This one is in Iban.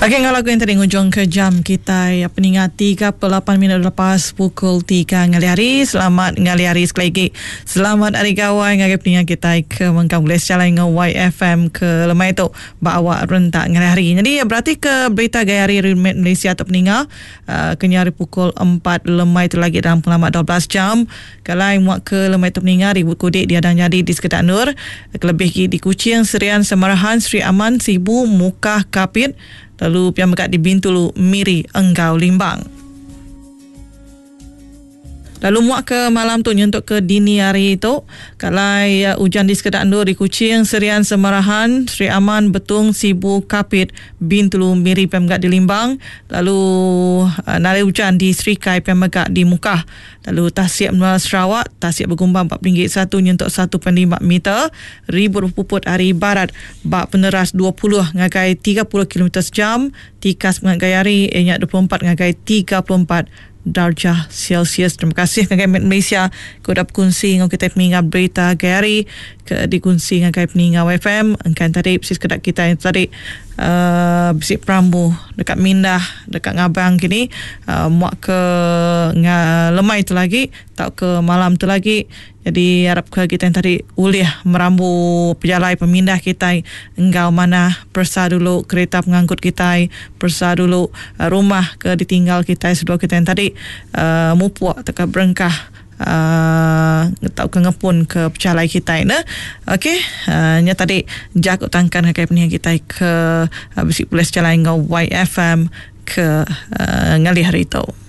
Agi enggau lagu yang tadi ngujung ke jam kitai peninga 38 minit lepas pukul 3 ngalih hari. Selamat ngalih hari sekali lagi. Selamat hari gawai ngagai peninga kitai ke mengkang bulih sejalai enggau YFM ke lemai tu ba awak rentak ngalih hari. Jadi berati ke berita gaya hari Remit Malaysia tu peninga uh, kenya hari pukul 4 lemai tu lagi dalam pengelama 12 jam. Kelai muak ke lemai tu peninga ribut kudik diadang nyadi di sekeda endur kelebih agi di Kuching, Serian, Samarahan, Sri Aman, Sibu, Mukah, Kapit lalu pia mega di Bintulu, Miri enggau Limbang. Lalu muak ke malam tu nyentuk ke dini hari tu, kalai ujan di sekeda endur di Kuching, Serian, Samarahan, Sri Aman, Betong, Sibu, Kapit, Bintulu, Miri pia mega di Limbang lalu nadai ujan di Serikai pia mega di Mukah. Lalu tasik menua Sarawak, tasik begumbang ba peninggi satu nyentuk 1.5 meter, ribut bepuput ari barat ba peneras 20 ngagai 30 kilometer sejam, tikas pengagai hari iya nya 24 ngagai 34 darjah Celsius. Terima kasih ngagai Met Malaysia ke udah bekunsi enggau kitai peninga berita gai hari ke dikunsi ngagai peninga WFM. Engka tadi bisi sekeda kitai tadi uhh bisi perambu deka mindah deka ngabang kini uhh muak ke lemai tu lagi tauka malam tu lagi jadi arap ke kitai tadi ulih merambu pejalai pemindah kitai enggau manah peresa dulu kereta pengangkut kitai peresa dulu rumah ke ditinggal kitai sebedau kitai tadi uhh mupuk tauka berengkah tauka ngepun ke pejalai kitai ne. Okey nya tadi jaku tangkan ngagai peninga kitai ke bisi pulih sejalai enggau YFM ke ngalih hari tu.